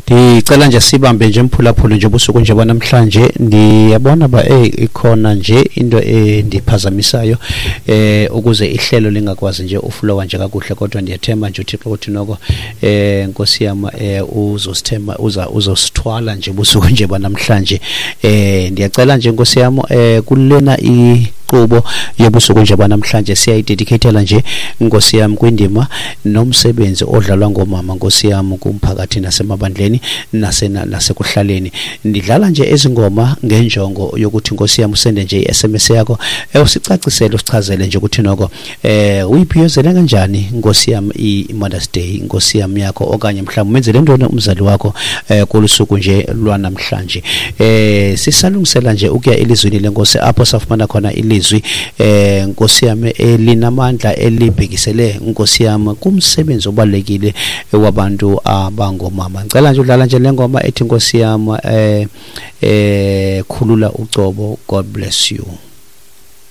Ndicela nje sibambe nje, mphulaphuli, nje ubusuku nje banamhlanje. Ndiyabona ba ikhona nje into endiphazamisayo ukuze ihlelo lingakwazi nje uflowa nje kakuhle, kodwa ndiyathemba nje uThixo uthi noko, Nkosi yam, uzosithemba, uza uzosithwala nje ubusuku nje banamhlanje. Ndiyacela nje, Nkosi yam, kulena inkqubo yobusuku nje banamhlanje siyayidedicatela nje, Nkosi yam, kwindima nomsebenzi odlalwa ngoomama, Nkosi yam, kumphakathi nasemabandleni nasekuhlaleni. Ndidlala nje ezi ngoma ngenjongo yokuthi, Nkosi yam, usende nje i-SMS yakho, usicacisele, usichazele nje ukuthi noko uyibhiyozele kanjani, Nkosi yam, i-Mother's Day, Nkosi yam, yakho, okanye mhlawumbi umenzele ntoni umzali wakho kolu suku nje lwanamhlanje. Sisalungisela nje ukuya elizwini leNkosi, apho safumana khona ilizwi, Nkosi yam, elinamandla elibhekisele, Nkosi yam, kumsebenzi obalulekile wabantu abangomama. Ngicela nje udlala nje le ngoma ethi, Nkosi yam, "Khulula Ucobo". God bless you.